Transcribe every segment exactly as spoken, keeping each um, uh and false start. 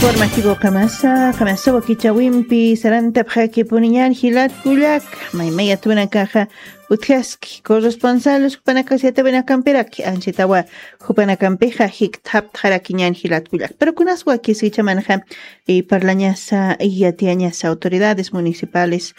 Warmakiku qamasa, qamasa wakichawimpi sarantapxakipuniñan jilat kullak, maymayat winakaxa utjaski corresponsales jupanakasiyatawinakampiraki anchitawa jupanakampixa jikthaptxarakiñan jilat kullak. Pero kunas wakis jichamanxa, y parlañasa, y yatiyañasa autoridades municipales.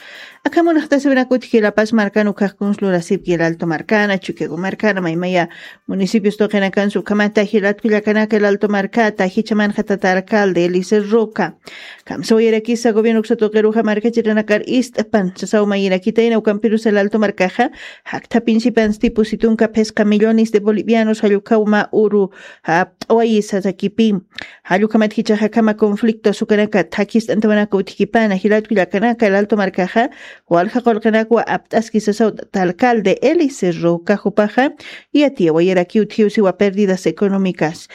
Akamunaxtasiwinakutki La Paz markan ukhax kunslurasipki El Alto markana, Chuquiago markana, maymaya municipios tuqinakansu ukhamata jilat kullakanaka El Alto markata, jichamanxa tata alcalde Eliezer Roca. Kamsawayarakisa gobierno uksa tuqiruxa markachirinakar ist'pan sasaw mayirakitayna ukampirusa El Alto markaxa, jakthapinsipansti pusi tunka phisqa millones de bolivianos jallukhaw mä uru japt'awayisa sakipi. Jallukhamat jichaxa akhama conflicto sukanaka thakist'antawanaka utjkipana jilat kullakanaka El Alto markaxa, walja qullqinakwa apt'aski sasaw tata alcalde Eliezer Roca jupaxa, yatiyawayaraki utjiw siwa pérdidas económicas.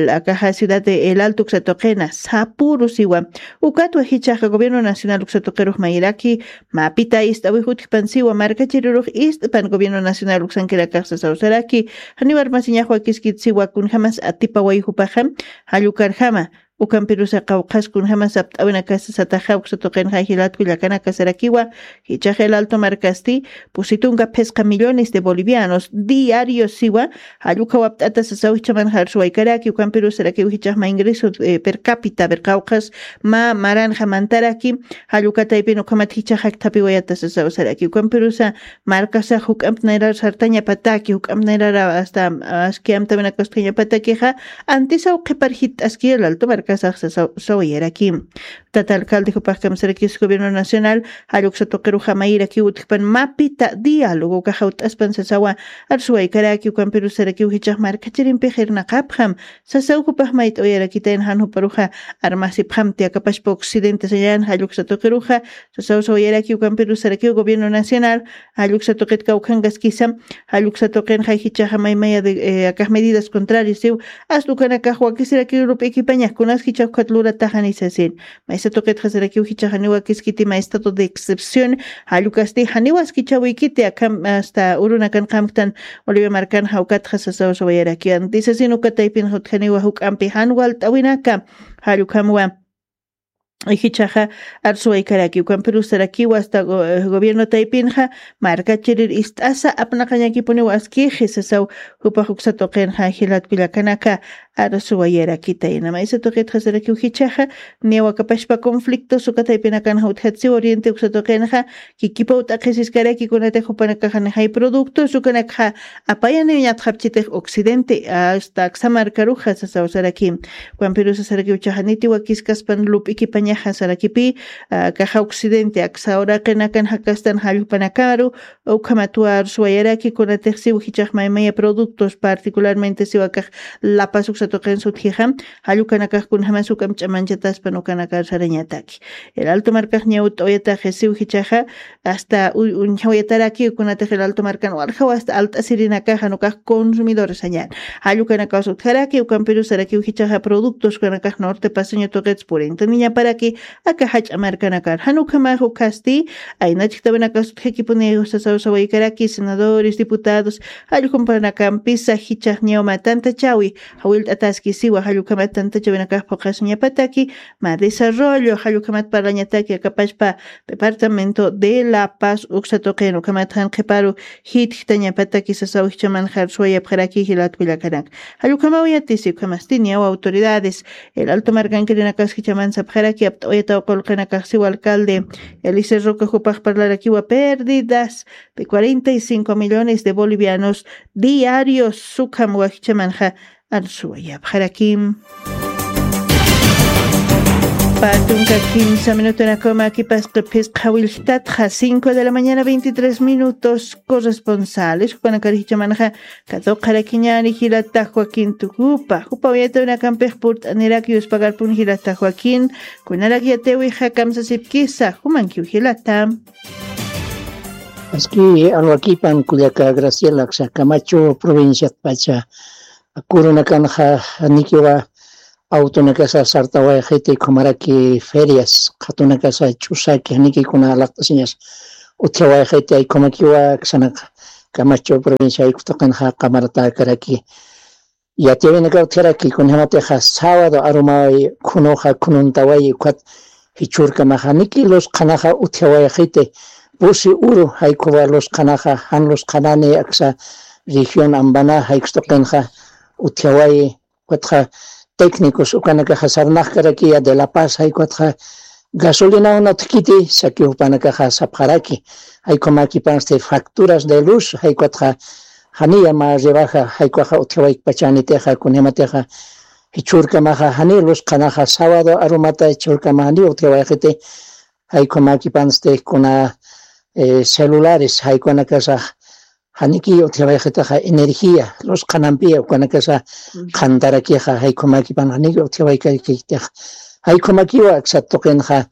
Akaxa ciudad de El Alto uksa tuqina sapuru siwa. Ukatwa jichaxa gobierno nacional uksa tuqirux mayiraki, mapita ist'awix utjpan siwa markachirirux ist'pan gobierno nacional uksankinakax sasaw saraki, janiw armasiñax wakiskit siwa kunjamas atipaway jupaxa, jallukarjama ukampirusa qawqhas kunjamas apt'awinakasa sataxa uksa tuqinxa jilat kullakanaka sarakiwa, jichax El Alto markasti pusi tunka phisqa millones de bolivianos diarios siwa, jallukhaw apt'ata sasaw jichamanxa arsuwaykaraki, ukampirusarakiw jichax mä ingreso, eh, per cápita, per qawqhas mä maranxa mantaraki, jallukataypin ukhamat jichax jakthapiwayata sasaw saraki, ukampirusa markasax juk'amp nayrar sartañapataki, juk'amp nayrar hasta aski amtawinakast'añapatakixa, antisaw qhipar jitt'aski El Alto markasax sasaw sawayaraki. Tata alcalde jupax kamsarakis gobierno nacional, jalluksa tuqiruxa mayirakiw utjpan mapita diálogo ukaxa ut'aspan sasawa, arsuwaykaraki, ukampirusarakiw jichax markachirimpix irnaqapxam, sasaw jupax mayt'awayarakitayn jan juparuxa armasipxamti akapachpa occidente sañan jalluksa tuqiruxa, sasaw sawayaraki, ukampirusarakiw gobierno nacional, jalluksa tuqit kawkhankaskisa, jalluksa tuqinxa jichaxa maymaya de, eh, akax medidas contrarias siw, hasta ukanakax wakisirakiw lup'ikipañax kunas jichax ukhat lurataxani sasin. Maysa tuqitxa sarakiw jichaxa janiw wakiskiti mä estado de excepción, jallukasti janiw askichawikiti akham hasta urunakan qamktan Bolivia markanxa ukatxa sasaw sawayaraki anti sasin, ukataypinxa utjaniwa juk'ampi jan walt'awinaka, jallukhamwa jichaxa arsuwaykaraki, ukampirusarakiwa hasta go-, gobierno taypinxa markachirir ist'asa apnaqañakipuniw askixi sasaw jupax uksa tuqinxa jilat kullakanaka arsuwayarakitayna. Maysa tuqitxa sarakiw jichaxa, niyaw akapachpa conflictos uka taypinakanxa utjatsiw oriente uksa tuqinxa, kikipaw t'aqhisiskaraki kunatix jupanakaxa nixay productos ukanakxa apayaniw ñatxapchitix occidente hasta aksa markaruxa sasaw saraki. Ukampirusa sarakiw jichaxa niti wakiskaspan lup'ikipañaxa sarakipi, ah, akaxa occidente aksa uraqinakan jakastan jallpanakaru, ukhamatwa arsuwayaraki kunatix siw jichax maymaya productos particularmente siw akax La Paz uksa tuqin sutjixa, jallukanakax kunjamas juk'amp ch'amanchataspan ukanakar sarañataki. El Alto markax ñawt'awayataxi siw jichaxa, hasta u-, uñjawayataraki kunatix El Alto markan waljaw hasta alt'asirinakaxa nukax consumidores sañan. Jallukanakax utjaraki, ukampirusarakiw jichaxa productos ukanakax norte paceño tuqits purintaniñaparaki, aka jach'a markanakar. Jan ukhamax ukhasti, aynachktawinakax utjakipuni sasaw sawaykaraki, senadores, diputados, jallukhampanakampisa jichax ñaw mä tantachawi, jawillt'ataski siwa, jallukhamat tantachawinakax phuqhasiñapataki, mä desarrollo, jallukhamat parlañataki akapachpa departamento de La Paz uksa tuqin, ukhamat jan qhiparu jitjtañapataki sasaw jichamanxa arsuwayapxaraki jilat kullakanaka. Jallukhamaw yatisi ukhamasti niyaw autoridades, El Alto markankirinakax jichaman sapxaraki apt'awayataw qullqinakax siw alcalde Eliezer Roca jupax parlarakiwa pérdidas de cuarenta y cinco millones de bolivianos diarios, ukham wakichamanxa arsuwayapxarakim. Pä tunka kimsa minutunakuma kipasqa phisqa willktatxa, cinco de la mañana, veintitrés minutos, corresponsales jupanakar jichamanxa katuqarakiñäni jilata Joaquín Tucupa, jupa uyatawinakampix purt'aniraki yuspagarpun jilata Joaquín, kunarak yatiyawixa kamsasipkisa, jumankiw jilata. Aski alwakipan kullaka Graciela, aksa Camacho provinciatpacha kurunakanxa janikiwa autonakasa sartawayxiti, ukhamaraki ferias qhatunakasa ch'usaki, janikiy kuna laqt'asiñas utjawayxiti, ukhamakïwa aksanaka Camacho provincia jaykutuqinxa qamaratakaraki. Yatiyawinakaw utjaraki, kunjamatixa sábado arumawayi, khunuxa khununtawayi, ukhat jichhürkamaxa janiki lus qhanaxa utjawayxiti, pusi uru jaykhuwa lus qhanaxa, jan lus qhanani aksa región Ambaná jayk'ustuqinxa utjawayi, ukatxa técnicos ukanakaxa sarnaqkarakiya de La Paz, jayk'uwatxa gasolinaw nathkiti, sakiw jupanakaxa sapxaraki, jayk'umakipansti facturas de luz, jayk'uwatxa janiya mä rebaja, jayk'uwaxa utjawaykpachanitixa, kunjamatixa jichhürkamaxa jani lus qhanaxa, sábado arumata jichhürkama jani utjawayxiti, jayk'umakipansti kuna, eh, celulares, jayk'uwanakasax janiki utjawayxitaxa energía, lus qhanampiya ukanakasa qhantarakixa, jayk'umakipan janiki utjawaykakitixa, jayk'umakiwa aksat tuqinxa,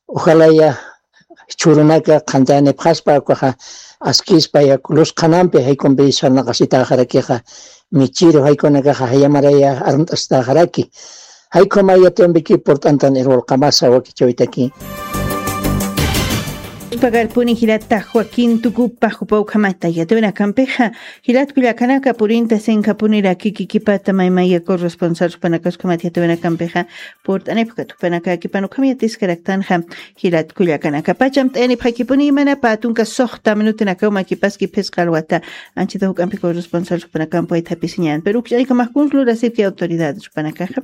ojalaya jichhürunaka qhantanipxaspa, ukaxa askispa, yak lus qhanampi jayk'umpi sarnaqasitaxarakixa, michiru jayk'uwanakaxa jayamaraya armt'asitaxaraki. Jayk'uma yatiyambiki purt'antan irwalqamasa wakichawitaki. Pagarpuni jilata Joaquín Tucupa jupa ukhamata yatawinakampixa, jilat kullakanaka purinta sinkapuniraki kikipata maymaya corresponsal jupanakaskhamata yatawinakampixa, purt'anipxkat jupanakakipan ukham yatiskaraktanxa, jilat kullakanaka pacham t'ayanipxakipuni imanapa tunka suxta minutinakaw makipaski phisqa alwata, anchita juk'ampi corresponsal jupanakampawayta japisiñan, pero ukch'aykamax kuns lurasipki autoridad jupanakaxa.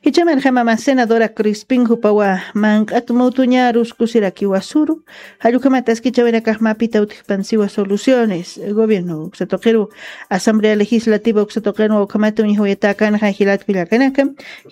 Jichhamanxa mama senadora Crispin jupawa manq'at mutuñarus kusirakiwa suru, jallukhamat askichawinakax mapita utjpansiwa soluciones, gobierno uksa tuqiru, asamblea legislativa uksa tuqinwa ukhamata uñjawayatakanxa jilat kullakanaka,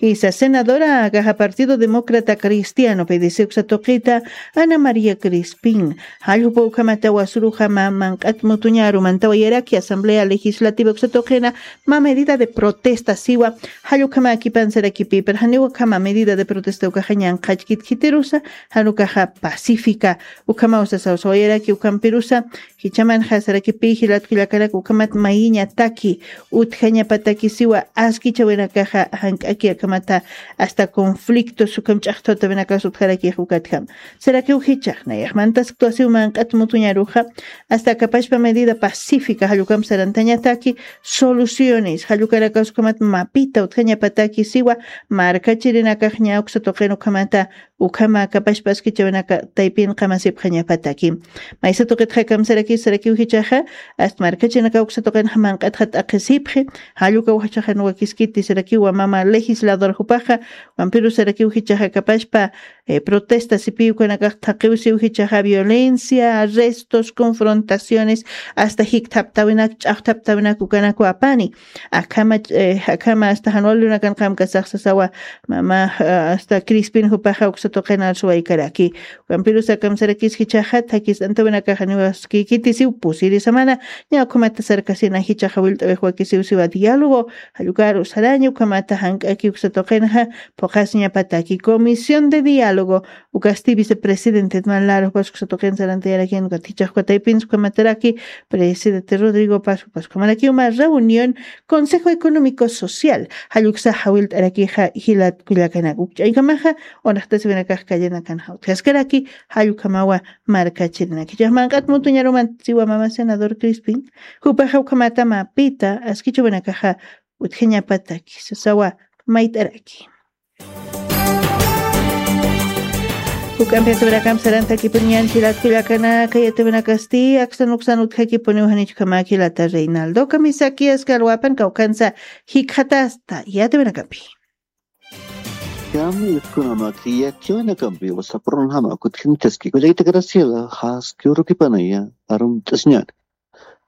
jisa senadora akaxa Partido Demócrata Cristiano, P D C uksa tuqita, Ana María Crispin, jalljupa ukhamata wasuruxa mä manq'at mutuñaru mantawayaraki asamblea legislativa uksa tuqina, mä medida de protesta siwa, jallukhamäkipan sarakipï, pero janiw ukhama medida de protesta ukaxa ñanqhachkit khitirusa, jan ukaxa pacífica, ukhamaw sasaw sawayaraki ukhampirusa, jichhamanxa sarakipï jilat kullakanaka ukhamat mayiñataki, utjañapataki siwa, askichawinakaxa jank'aki akhamata, hasta conflictos ukham ch'axtawtawinakas utjarakix ukatjam. Sarakiw jichhax nayax mantasktwa siw manq'at mutuñaruxa, hasta akapachpa medida pacífica jallukamp sarantañataki, soluciones jallukanakas ukhamat mapita utjañapataki siwa, markachirinakax ña uksa tuqin ukhamata, ukhama akapachpa askichawinaka taypin qamasipxañapataki. Maysa tuqitxa kamsarakis sarakiw jichhaxa, hasta markachirinaka uksa tuqinxa manq'atxa t'aqhisipxi, jallukaw jichhaxa nuwakiskiti sarakiwa mama legislador jupaxa, ukhampiru sarakiw jichhaxa akapachpa, eh, protesta sipiw ukanakax thaqiw siw jichhaxa violencia, arrestos, confrontaciones, hasta jikthaptawinak, ch'axthaptawinak ukanakwa apani. Akhama, eh, akhama hasta jan wali urunakan qamkasax sasawa, mama, ah, hasta Crispin jupaxa uksa tuqin arsuwaykaraki. Ukhampirusa kamsarakis jichhaxa, thakis antawinakaxa niwaskikiti siw pusiri samana, ña ukhamata sarkasina jichhaxa willt'awix wakisiw siwa diálogo, jallukaru saraña ukhamata jank'aki uksa tuqinxa, phuqhasiñapataki Comisión de Diálogo, ukasti vicepresidente Edman Lara jupas uksa tuqin sarantayarakin, ukat jichhax uka taypins ukhamataraki, presidente Rodrigo Paz jupas ukhamarakiw mä reunión Consejo Económico Social, jalluksa jawilt'arakixa jilat kullakanaka, ukch'aykamaxa, unaxtasiwinakax kallanakanxa utjaskaraki, jallukhamawa markachirinaka. Jichhax manq'at mutuñaruman siwa mama senador Crispin, jupaxa ukhamata mapita askichawinakaxa utjañapataki, sasawa mayt'araki. Juk'ampi yatawinakamp sarantakipuniñan jilat kullakanaka, yatawinakasti aksan uksan utjakipuniw janichkhamäki jilata Reinaldo Kamisaki, aski alwapan kawkhansa jikxatasta yatawinakampi. Kami utjkunamäki yatiyawinakampi, wasaprunjama kutjinchaski kullakita Graciela, jaski urukipanaya arumt'asiñan.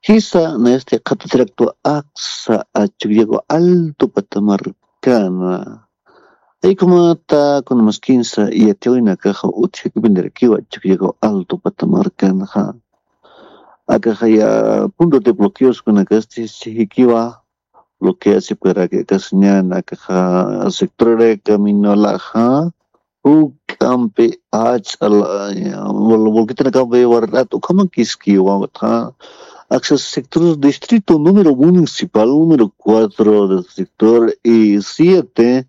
Jisa nayasti qhatatiraktu aksa achukyaku altu patamarkana. Jaykhumata kunamaskinsa yatiyawinakaxa utjakipinirakiwa achukyaku altu patamarkanxa. Akaxaya punto de bloqueoskunakasti jikiwa bloqueasipkaraki akasiñan akaxa sector de caminolaxa. Juk'ampi ach'al, vol-, volquetanakampi warrat ukhamakiskiwa, aksa sector distrito número municipal número cuatro del sector y siete,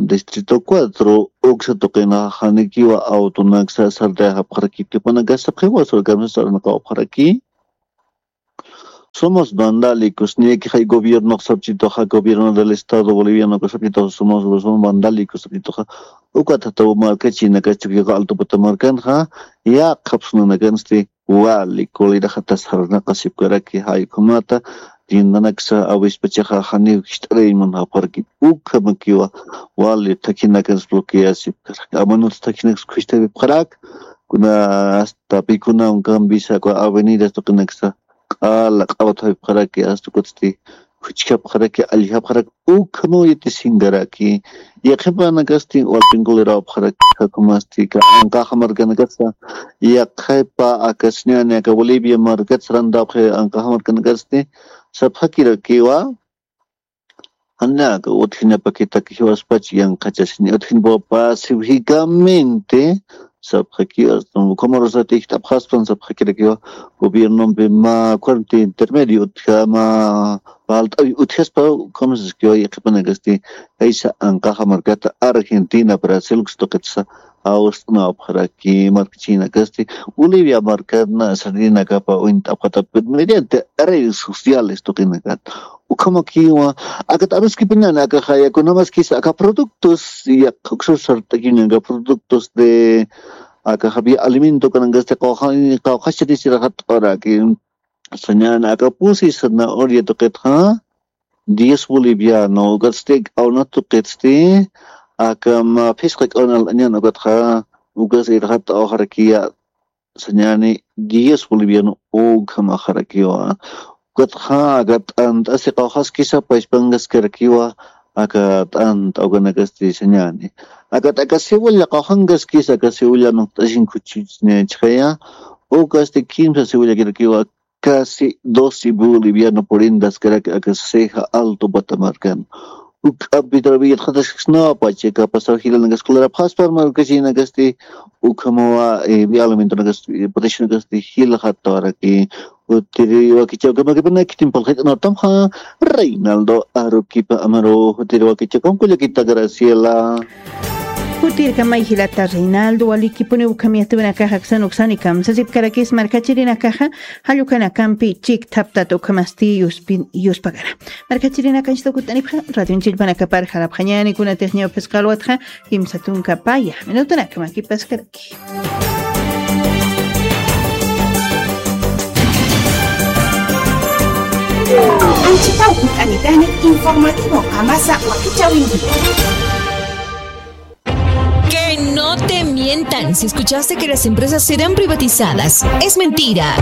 distrito cuatro, uksa tuqina janikiwa autonaksa sartayapxaraki, tupanakasa qhiwa surkamsa sarnaqawapxaraki. Somos vandálicos, niyakixay gobierno sapchituxa, gobierno del Estado Boliviano sapchituxa, somos, somos vandálicos sapchituxa. Ukat jataw markachinakas Chukiyaqa Alto Patamarkanxa, yaqhap sunanakansti wali kuliraxatas sarnaqasipkaraki, jay ukhamata, tiendanaksa awispachaxa janiw jist'arayman japxaraki, ukhamakiwa, wali thakhinakas bloqueasipkaraki, amanuts thakhinakas khucht'apipxarak, kuna hasta pikunawan Cambisa, kuna avenidas tuqinaksa, q'ala q'awat japxaraki, hasta ukatsti, khuchkapxaraki, allxapxaraki, ukhamaw yatisinkaraki. Yaqhipanakasti walpin kulirawapxaraki, ukhamasti, ka anqaxa markanakatsa, yaqhipa, aka sañäni, aka Bolivia markat sarantawxi anqaxa markanakatsti, sapxakirakiwa, janiw aka utjinapakitaki jiwaspach yanqhachasini, utjinpaw pacíficamente, sapxakiwa, ukhamarusat ijt'apxaspan sapxakirakiwa, gobiernompi mä cuarto intermedio utjama, palt'awi utjaspa, ukhamasiskiwa, yaqhipanakasti, jaysa anqaxa markata Argentina, Brasil, tuqitsa, awst'unapxaraki, markachinakasti, Bolivia markana, sarinakapa, uñt'apxata, mediante redes sociales, tuqinakat. Ukhamakiwa, akat amaskipiñäni, aka jayakunamaskisa, aka productos, yaqha uksa sart'akiñäni, aka productos de, aka jabi alimento kanankasti, qawxa-, qawqhaschatisirakat'araki. Sañäni, aka pusi zanahoria tuqitxa, diez boliviano, ukatsti, k'awna tuqitsti, aka mä phisqa k'awna al'añäni ukatxa, ukas irxat'awxarakiya, sañäni, diez boliviano ukhamaxarakiwa. Ukatxa, aka t'ant'asi qawqhaskisa pachpankaskarakiwa, aka t'ant'a ukanakasti sañäni. Aka, aka cebolla qawqhankaskisa, aka cebolla nuqt'asin khuchhuchisniyachixaya, ukasti kimsa cebollakirakiwa, casi doce boliviano purindaskarak aka Ceja Alto Patamarcan. Ukapitrawiyat jataskasnawa pacha, aka pasaw jilanakasti, kularapxaspa markachinakasti, ukhamawa, eh, vía alimentonakasti, eh, preciosnakasti, jilxatawaraki. Utiri wakichawkama kipanaki timpal jit'anatamxa, Reinaldo Aruquipa Amaru, utiri wakichawkama kullakita Graciela. Jutirkamay jilata Reinaldo, walikipuni ukham yatiyurinakaxa aksan uksani kamsasipkarakis markachirinakaxa, jall ukanakampi chikthaptata ukhamasti yuspi-, yuspagara. Markachirinakanchista ukut'anipxa, radion chillpanakapar jarapxañäni, kunatix ñawphisqa alwatxa, kimsa tunka paya, minutunakamakipaskara. Anchitaw hunt'anitani informativo Qamasa wakichawinki. Que no te mientan si escuchaste que las empresas serán privatizadas. Es mentira.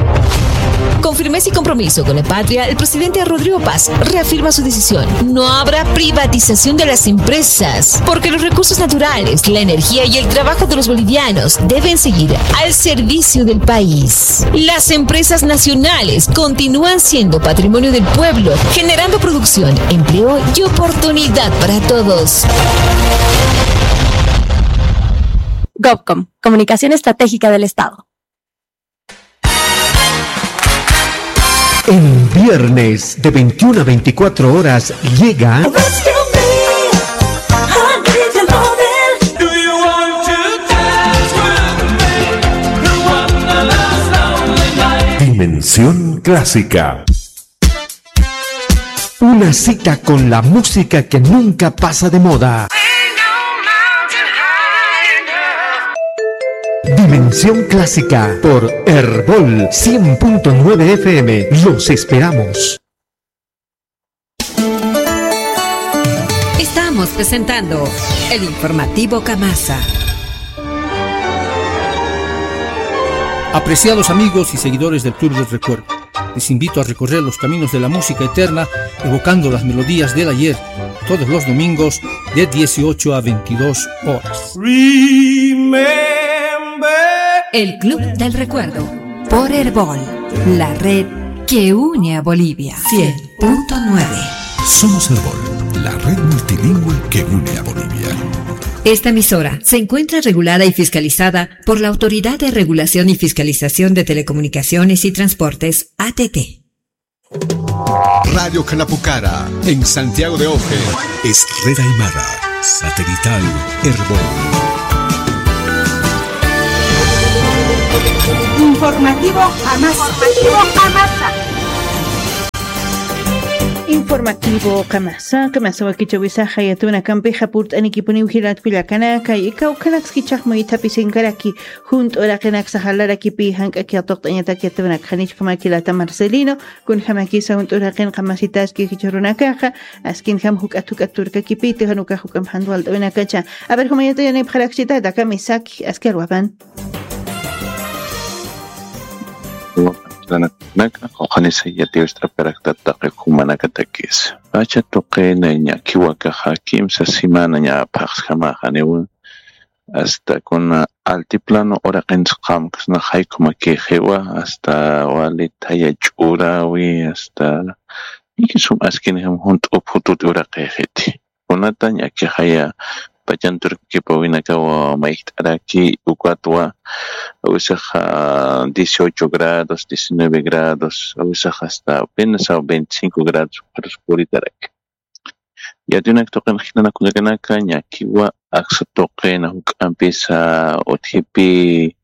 Con firmeza y compromiso con la patria, el presidente Rodrigo Paz reafirma su decisión. No habrá privatización de las empresas, porque los recursos naturales, la energía y el trabajo de los bolivianos deben seguir al servicio del país. Las empresas nacionales continúan siendo patrimonio del pueblo, generando producción, empleo y oportunidad para todos. Gobcom, Comunicación Estratégica del Estado. En viernes de veintiuna a veinticuatro horas llega Dimensión Clásica. Una cita con la música que nunca pasa de moda. Dimensión Clásica por Erbol cien punto nueve F M. Los esperamos. Estamos presentando el informativo Kamasa. Apreciados amigos y seguidores del Club del Recuerdo, les invito a recorrer los caminos de la música eterna, evocando las melodías del ayer, todos los domingos de dieciocho a veintidós horas. Remember. El Club del Recuerdo, por Erbol, la red que une a Bolivia. Cien punto nueve. Somos Erbol, la red multilingüe que une a Bolivia. Esta emisora se encuentra regulada y fiscalizada por la Autoridad de Regulación y Fiscalización de Telecomunicaciones y Transportes, A T T. Radio Canapucara, en Santiago de Oje, es red aymara, satelital, Erbol. Informativo Amasa. Informativo Amasa. Informativo qamasa qamasa wakichawisaxa yatuna kampixa purt'anikipuniw jilatkullakanaka ikawkanakskichaxmuythapisinkaraki. Junt'uraqinak saxalarakipi jank'aki atuqt'añatak yatunak janichkamaki lata marcelino. Kunjamakisa junt'uraqin qamasitaski jichurunakaxa askinjam juk'at juk'at turkakipiti janukax juk'am jantwalt'awinakacha. Aver jumayata yanipxarakchita dakamisaki aski alwapan. Naka q'uqanisa yatiwist'apkaraktat taqi jumanakatakis pacha tuqina ñakiwakaxa kimsa semana ña phaxsjamaxaniwa. Asta kuna altiplano uraqinsa qamkasna jaykumakixiwa asta wali thaya ch'urawi asta ikisum askinijam junt'u phututi uraqixiti. Kunata ñakixaya pachanturkipawinakawa mayjt'araki ukatwa awisaxa dieciocho grados diecinueve grados awisaxa asta apenas a veinticinco grados ukharus puritaraki. Yatinak tuqin jilanakullakanaka ñakiwa aksa tuqina juk'ampisa utjipi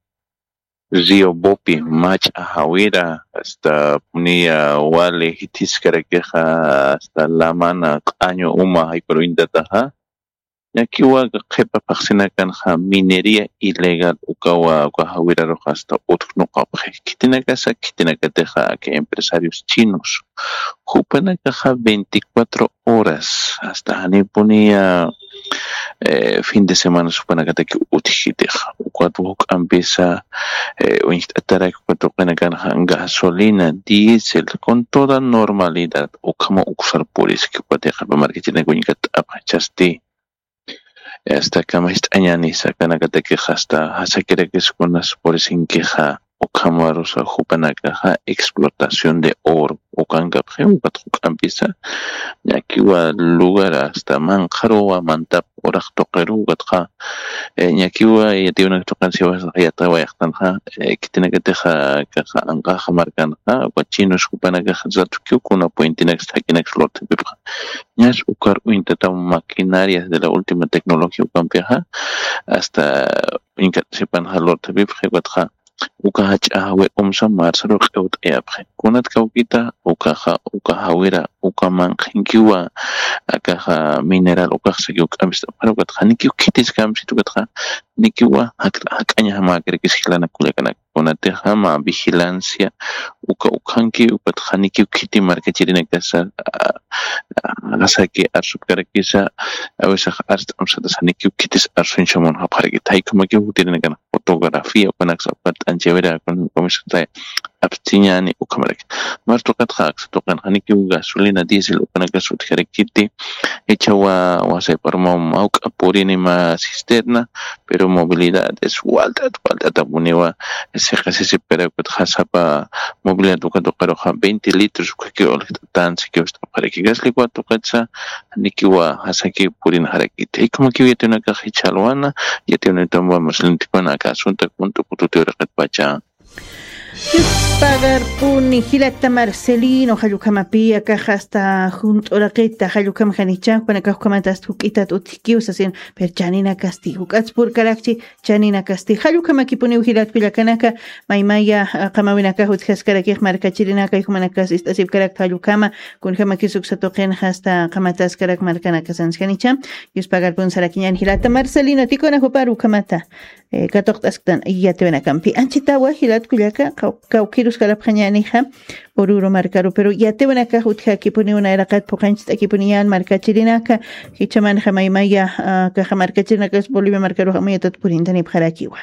río bopi mach'a jawira asta puniya wali jithiskarakixa asta lamana q'añu uma jaykur uñtataxa. Ñakiwa qhipa phaxsinakanxa minería ilegal ukawa uka jawiraruxa asta utjnuqapxi khitinakasa khitinakatixa aka empresarios chinos jupanakaxa veinticuatro horas asta janipuniya fin de semana supanakataki utjkitixa ukatwa juk'ampisa uñjt'ataraki uka tuqinakanxa gasolina diésel con toda normalidad ukhama uksar puriski uka tiqapa markachirinaka uñkat'apxachasti. Asta kama jist'añanisa kanakatakix asta jasakirakis kunas purisinkixa ukhamarusa jupanakaxa explotación de oro ukankapxi ukat juk'ampisa ñakiwa lugar asta manqharuwa mantap uraq tuqiru ukatxa ñakiwa yatiwnak tuqin siwasax yatawayxtanxa khitinakatixa kaxa anqaxa markanxa uka chinos jupanakaxa ratukiw kuna puentinaksa thakinaksa lurthapipxa. Ñas ukar uñtataw maquinarias de la última tecnología ukampixa asta uñkat sipanxa lurthapipxi ukatxa uka jach'a jawir umsa marsaru q'iwt'ayapxi kunat kawkita ukaxa uka jawira uka manqhinkiwa akaxa mineral ukaxsaki uk'ampist'apxara ukatxa nikiw khitiskamsit ukatxa nikiwa jak'añajamäkirakis jilanakullakanaka kunatixama vigilancia uka ukhanki ukatxa nikiw khiti markachirinakasa jasaki arsupkarakisa awisax arst'amsatasa nikiw khitis arsuñchamunxapxarakita jaykhumakiw jutirinakan fotografía ukanaksa ukat t'anchawira ukan ukamisa apstiñani ukhamaraki. Martuqatxa aksa tuqinxa nikiw gasolina diésel ukanakas utjarakiti jichhawa wasayparmaw mawk'a purinima cisterna pero movilidad es walt'at walt'atapuniwa. Siqasisipkarakutxa sapa movilidad uka tuqiruxa veinte litros ukhaki uljt'atan sikiw ist'apxaraki gasliwa tuqitsa nikiwa jasaki purinxarakiti jaykumakiw yatiwnakax jichhalwana yatiwnitamba maslintikuna aka asunta kunt'u kututi uraqitpacha. Yuspagarpuni jilata marcelino jallukamapi akaxa asta junt'uraqita jallukam janicha jupanakax ukamata asta juk'itat utjikiw sasin pero chaninakasti juk'ats purkarakchi. Chaninakasti jallukamakipuniw jilatkullakanaka maymaya qamawinakax utjaskarakix markachirinaka jumanakas ist'asipkarakta jallukama kunjamakis uksatuqinxa asta qamataskarak markanakasanskanicha. Yuspagarpun sarakiñan jilata marcelino tikuna jupar ukamata katuqt'asktan yatiwinakampi anchitawa jilatkullaka kawkiruskarapxañanixa. Ururu markaru pero yatiwinakax utjakipuniw nayraqat phuqanchist'akipuniñan markachirinaka jichhamanxa maymaya kaxa markachirinakas bolivia markaruxa muyatat purintanipxarakiwa.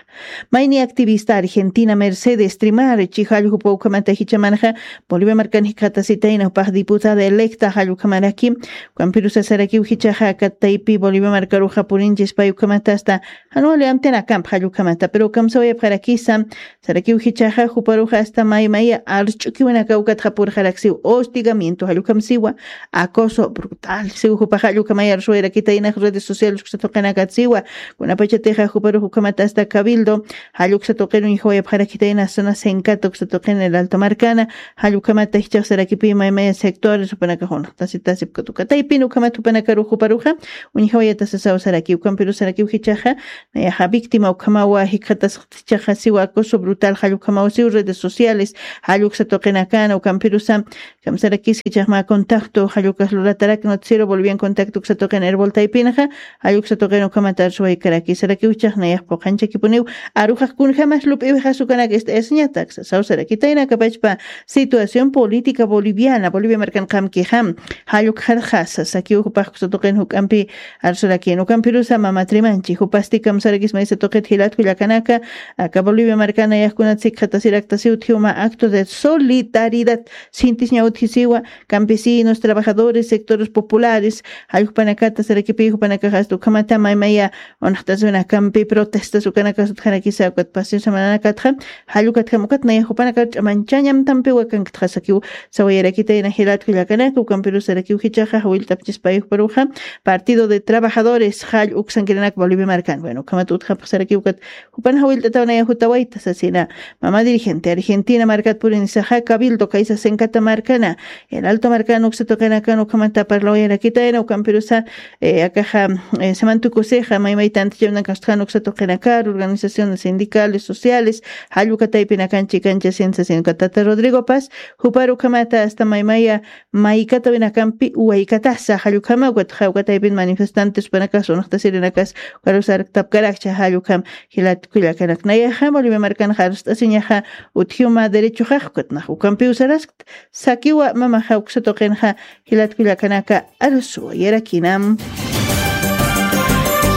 Mayni activista argentina mercedes trimar chijalljupa ukhamata jichhamanxa bolivia markan jikxatasitayna jupax diputada electa jallukhamaraki. Ukampirusasarakiw jichhaxa kat taypi bolivia markaruxa purinchispay ukhamata asta jan wali amtinakamp jallukhamata pero ukamsawayapxarakisa. Sarakiw jichhaxa juparuxa asta maymaya arch'ukiwinaka ukatxa purxaraksiw hostigamiento jallukamsiwa. Acoso brutal siw jupaxa jallukamaya arsuwayrakitaynax redes sociales uksatuqinakatsiwa. Kunapachatixa juparux ukhamata asta cabildo jalluksa tuqiruñ jawayapxarakitayna zona senkata uksatuqina el alto markana. Jallukhamata jichhax sarakipi maymaya sectores jupanakax unxtasitasipkatuka taypin ukhamata jupanakarux juparuxa uñjawayatasasaw sarakiw ukampiruxsarakiw jichhaxa nayaxa víctima ukhamawa jikxatasxtichaxa siwa acoso brutal, jall ukhamaw siw redes sociales, jall uksa tuqinakana, ukampirusa, kamsarakis jichhaxma contacto, jall ukas luratarak noticiero Bolivian Contacto uksa tuqin Erbol Taypinaxa, jall uksa tuqin ukhamat arsuwaykaraki, sarakiw jichhax nayax puqanchakipuniw, aruxax kunjamas lup'iwixas ukanak ist'ayasiñatak, sasaw sarakitaynakapachpa situación política boliviana, Bolivia markan qamkixam, jall ukxarxasa, sakiw jupax uksa tuqin juk'ampi, arsurakin, ukampirusa mama Trimanchi, jupasti kamsarakis maysa tuqit jilat kullakanaka, aka Bolivia markana yaqkunat sikxatasirakta siw utjiwma acto de solidaridad, sintisiña utjisiwa, campesinos, trabajadores, sectores populares, jall jupanakata sarakipi, jupanakax asta ukhamata maymaya, unxtasiwinakampi protestas ukanakas utjarakisa, ukat paseo semananakatxa, jall ukatjam ukat naya jupanakar ch'amanchañam tampiwa kanktxa sakiw, sawayarakitayna jilat kullakanaka, ukampiru sarakiw jichhaxa, jawillt'apchispay ukparuxa, Partido de Trabajadores, jall uksankiranak Bolivia markan. Bueno, ukhamat utjapx sarakiw ukat, jupan jawillt'ataw naya jutawayta sasina. Mama dirigente Argentina markat purinisaxa, Cabildo kaysa Senkata markana, El Alto markan uksa tuqinakan ukhamata parlawayarakitayna, ukampirusa, eh, akaxa, eh, semantukusixa, maymay tantichawinakan uksa tuqinakar, organizaciones sindicales, sociales, jall uka taypinakan chikanchasin sasina, uka tata Rodrigo Paz, jupar ukhamata asta maymaya, maykatawinakampi uwaykatasa, jall ukhama, ukat jawka taypin manifestantes, panakas, unxtasirinakas, ukarus arktapkarakcha, jall ukham, jilat kullakanak. Nayaxa, Bolivia markanxa arst'asiñaxa, utjiwma derechoxax, ukatnax, ukampiw saraskt, sakiwa mamaxa, uksa tuqinxa, jilat kullakanaka, arsuwayarakinam.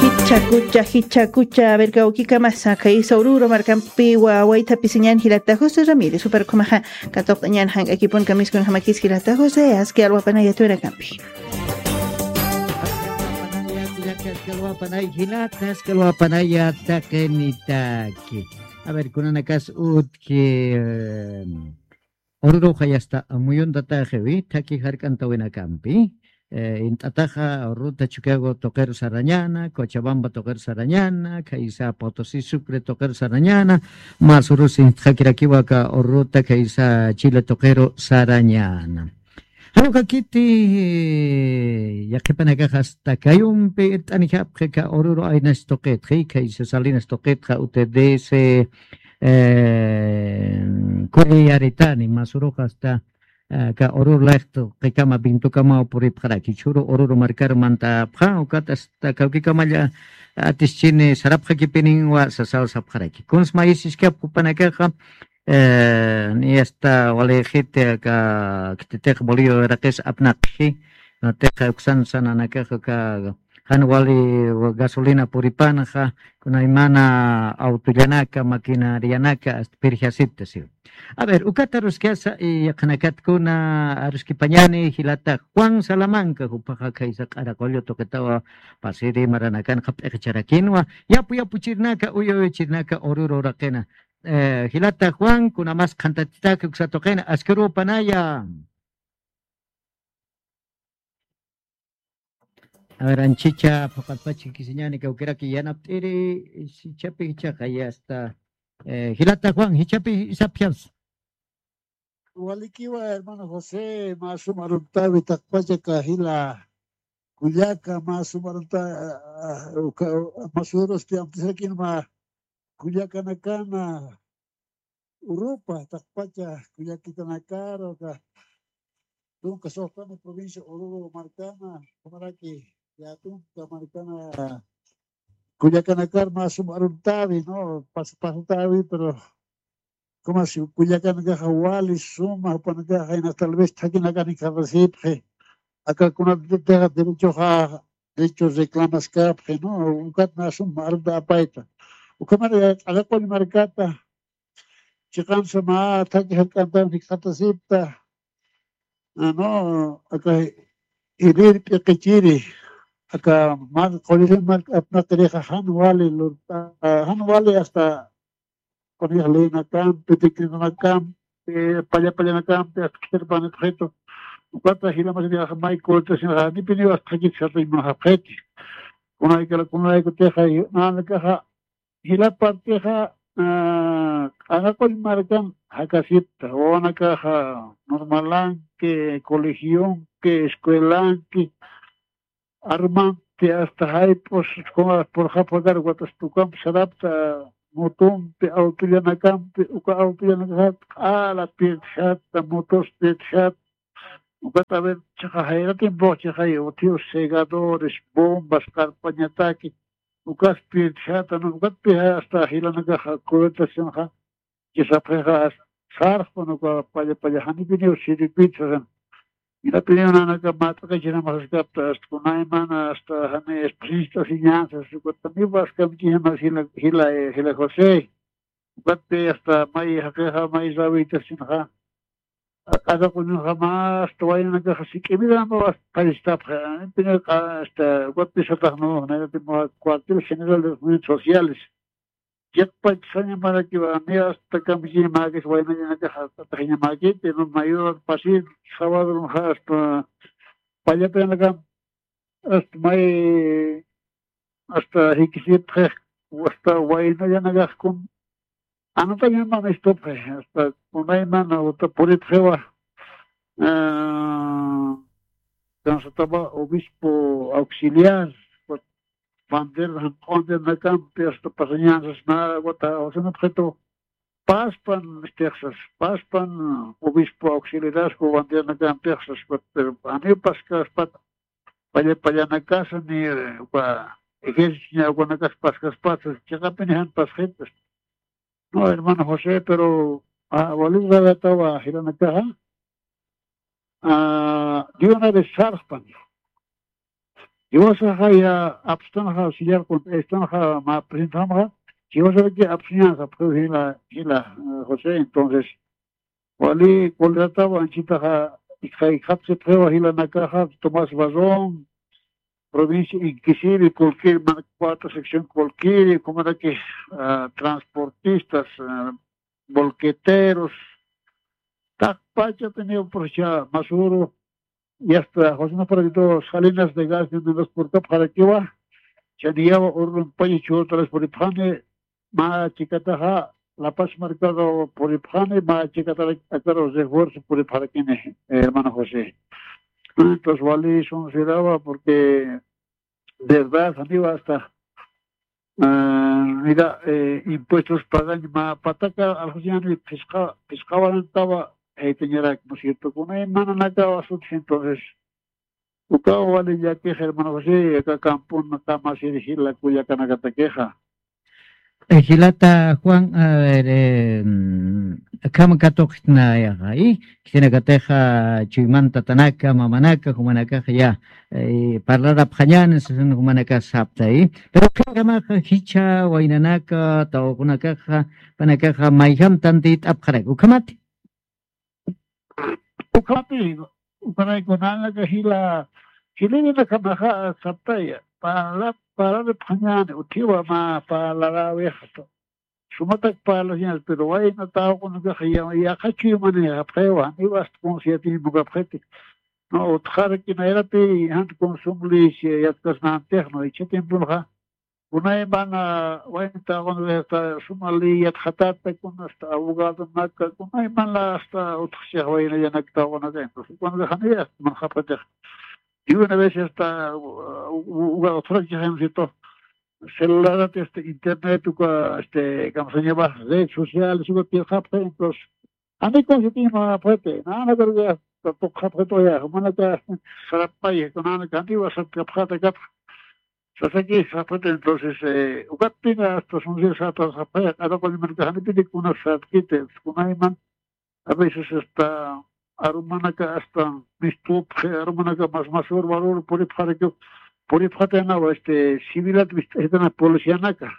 Jichhakucha, jichhakucha, a ver, kawkikamasa, kaysa Oruro markampi wawaytapisiñan jilata José Ramírez, jupar ukhamaxa, katuqt'añan jank'akipun kamiskunjamakis jilata José, aski alwapanaya tuwinakampi. Aski alwapanaya, jilata, aski alwapanaya, taqinitaki. A ver, kunanakas utji, em, Oruruxa yasta muyuntataxiwi, thaki jark'antawinakampi, eh, int'ataxa Oruruta Chukiyawu tuqiru sarañäna, Cochabamba tuqiru sarañäna, khaysa Potosí Sucre tuqiru sarañäna, mas urus intxakirakiwa aka Oruruta khaysa Chile tuqiru sarañäna. Jan uka kiti, eh, yaqhipanakax asta kayumpi irt'anijapxi aka Oruro aynas tuqitxi, khaysa Salinas tuqitxa, U T D C, eh, kulliyaritani, mas urux asta, eh, aka Oruro layxtu qikama Vintukamaw puripxaraki, jichhüru Oruro markar mantapxa, ukat asta kawkikamalla atischini sarapxakipininwa sasaw sapxaraki. Kuns mayisiskap jupanakaxa, eh, ni asta walixiti aka khititix Bolivia wiraqis apnaqxi, natixa uksan sananakaxa aka jan wali gasolina puripanxa, kunaymana autollanaka, maquinarianaka, asta pirjasipta siw. A ver, ukata aruskasa, y yaqhanakatkuna aruskipañani, jilata Juan Salamanca, jupaxa khaysa Q'araqullu tuqitawa, pasiri maranakanxa p'iqicharakinwa, yapu yapuchirinaka, uyu uyuchirinaka, Oruro uraqina. Eh, jilata Juan, kunamas qhantatitaki uksa tuqina, aski urupanaya. A ver, anchicha phuqatpach jikisiñani kawkiraki yanapt'iri, jichhapi jichhaxa, ya está. Eh, jilata Juan, jichhapi sapxas. Walikiwa, hermano José, mä suma aruntawi taqpacha aka jila kullaka, mä suma arunta, ah, ah, uka, mä surusti amtisarakin mä kullakanakana, Urupa, taqpacha kullakitanakar, uka tunka soxtana provincia Oruro markana, kumaraki, ya tunka markana, kullakanakar mä suma aruntawi, ¿no? Pas-, pasatawi, pero como si kullakanakaxa wali suma, jupanakaxa, tal vez thakinakani kharasipxi, aka kunatixa derechoxa, derecho reclamaskapxi, ¿no? Ukat mä suma arunta apayta. Ukhamari Q'araqullu markata, chiqansa mä thaki jark'antan jikxatasipta, ah, no, aka jirir p'iqichiri, aka mar, qullirin mar apnaqirixa jan wali lurta, jan wali hasta q'unix leynakampi, decretonakampi, palla pallanakampi, hasta khithirpanipxitu. Ukata jilamasirixa may cortesinaxa, nipiniw hasta khithirpanipxiti. Kunaykala, kunaykutixa, nanakaxa, jila partixa, ah, Q'araqullu markan jakasipta, wawanakaxa normalanki, colegionki, escuelanki, arman, Ukampasti hasta jayp'us, kuna purxapxakar, ukat hasta ukamp sarapta, motompi, autollanakampi, uka autollanakaxa q'ala pirdxata, motos pirdxata, ukat a ver, chiqa, jayratin puq chiqay, uthiw segadores, bombas, qarpañataki, ukas pirdxata, ¿no? Ukatpi hasta jilanakaxa cubetasinxa, chisapxixa, sarxpan uka palla palla, janipiniw siripit sasan. Janipiniw nanaka mat'aqachiram saskapta, hasta kunaymana, hasta jani, hasta enseñanzas, ukataniw paskamchixmas jila, jila, jila José. Ukatpi hasta may jaqixa, may rawitasinxa. Aq'asaquñuxa mä hasta waynanakaxa sik'imirama hasta qallistapxi. Janipiniw hasta ukatpi satax, ¿no? Janipiniw cuartel general de los movimientos sociales. Chiqpach sañamarakiwa, ni hasta kampichiñamakis, waynañanakaxa ataxiñamakiti, ¿no? Mayor pasir, sábado, ¿no? Hasta pallapinakam, hasta may, hasta jikisipxi, hasta waynañanakaxkun, anatañamamistupxi, hasta kunaymana, uta puripxiwa, ah, kansataba obispo auxiliar, bandera, janq'undirnakampi, hasta pasañansas, na, wata, usanapxitu, paspan, istixsas, paspan, obispo auxiliaresku bandernakampixsas, pero aniw paskaspat, palla, pallanakasa, ni, eh, uka, ejército, ña, ukanakas paskaspat, chiqapini jan pasxitas. No, hermano José, pero, ah, wali rawatawa jilanakaxa, ah, de una vez sarxpan. Jiwasaxa ya apstanxa, sillar contra estanxa, mä presentamxa, jiwasaraki apsiñansa, pues, jila, jila, eh, José, entonces, wali coleratawa, anchitaxa, ikxa, ikxapsipxiwa jilanakaxa, Tomás Barrón, provincia Inquisivi, cualquier, mana cuarta sección, cualquier, como era que, ah, transportistas, ah, bolqueteros, taqpachapiniw, pues, ya, Masuru, y hasta José Nafarito Salinas de Gas de Mendoza purkapxarakiwa, chaniyawa urrumpaña churtalas puripxani, mä chikataxa, La Paz markado puripxani, mä chikatarak akaro refuerzo puripxarakini, hermano José. Entonces, wali sunsirawa, porque de verdad, amigo, hasta, ah, mira, eh, impuestos pagañ, mä pataka, algo así, phisqa, phisqawarantawa, eh, teñarak, ¿no es cierto? Con el mananakawa sutji, entonces, ukaw wali llakix, hermano José, aka kampun, kamasir jila kullakanakatakixa. Eh, jilata Juan, a ver, eh, mm, akham katuqtnayaxa, y, khitinakatixa chuymanta tatanaka, mamanaka, jumanakaxa ya, eh, parlarapañäni, sasin jumanakax sapta, y. Pero qillqamaxa jichha waynanaka, tawaqunakaxa, jupanakaxa mayjam tantiyt'apxaraki, ukhamati. Ukhapi, ukharay kunanaka jila, jilïrinakamaxa saptaya, parla, parlaripxañäni, utjiwa mä parlaräwixta. Sumatak parlasiñas, pero wayna tawaqunakaxa ya, yaqha chuymanïxapxiwa, janiw hasta confiatiñamukapxiti. No, utjaraki nayrati, jan consumo leche yatxasnantix, no, jichha tiemponxa, kunaymana, wayna tawaqunaka hasta suma ley yatxatäta, kuna hasta abogadonaka, kunaymana hasta utjchix waynallanak tawaqunaka, entonces, kunaka janiya hasta manxapxitix. Y una vez hasta, u-, u-, uka utjarakixa, ¿no es cierto? Celularati, este, internet, uka, este, kamsañapax, redes sociales, uka pirqapxi, entonces, jani confiatiñamapxiti, nanakaruka tuqxapxituya, jumanaka sarapaya, nanaka janiwa sarapkapxäta katxa. Sasaki sapxiti, entonces, eh, ukatpina hasta sunsir sarapxaya, q'ara qullmanaka janipini kuna sarapkiti, kunayman, a veces hasta arumanaka hasta mistupxi, arumanaka mas, mas ur, warur puripxarakiw, puripxatayanawa, este, civilat mist'asitana policianaka.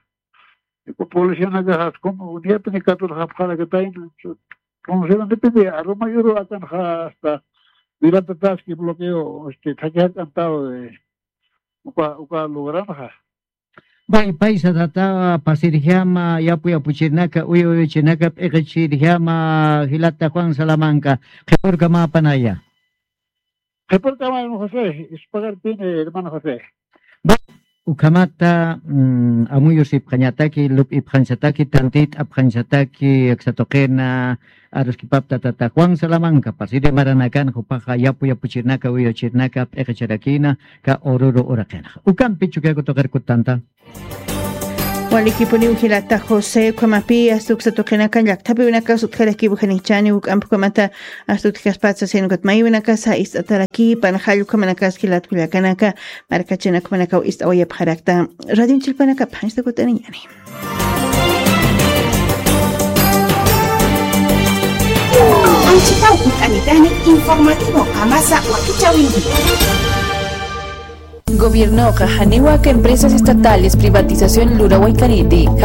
Policianaka jas como unidad ni katur japxarakatayna. Entonces, depende, aruma yuru akanxa hasta viratataski bloqueo, este, thaki jak'antaw, eh, uka, uka lugaranxa. Pay, pay satatawa pasirjama, yapu yapuchirnaka, uyu uyuchirnaka, p'iqichirjama, jilata Juan Salamanca, qhipurkamapanaya. Qhipurkama, hermano José, ispagarpini, hermano José. Bueno, Ukhamata, mm, amuyusipxañataki, lup'ipxañsataki, tantit'apxañsataki, aksa tuqina aruskipapta tata Juan Salamanca, pasiri maranakan, jupaxa yapu yapuchirnaka, uyuchirnaka, p'iqicharakina, ka ururu uraqinxa. Ukampi Chukiyawu tuqir kutanta. Walikipuniw jilata José, ukhamapi asta uksa tuqinaka llakthapiwinakas utjarakiw janichani, uk'ampi ukhamata asta utjaspatsa, sino ukat maywinakasa ist'atarakipan, jall ukhamanakas jilat kullakanaka, markachinak ukhamanakaw ist'awayapxarakta. Radioñ chillpanakap, janista kut'aniñani. Anchitaw kut'anitani informativo qamasa wakichäwinki. Gobiernoqa janiw aka empresas estatales privatización lurawaykaniti,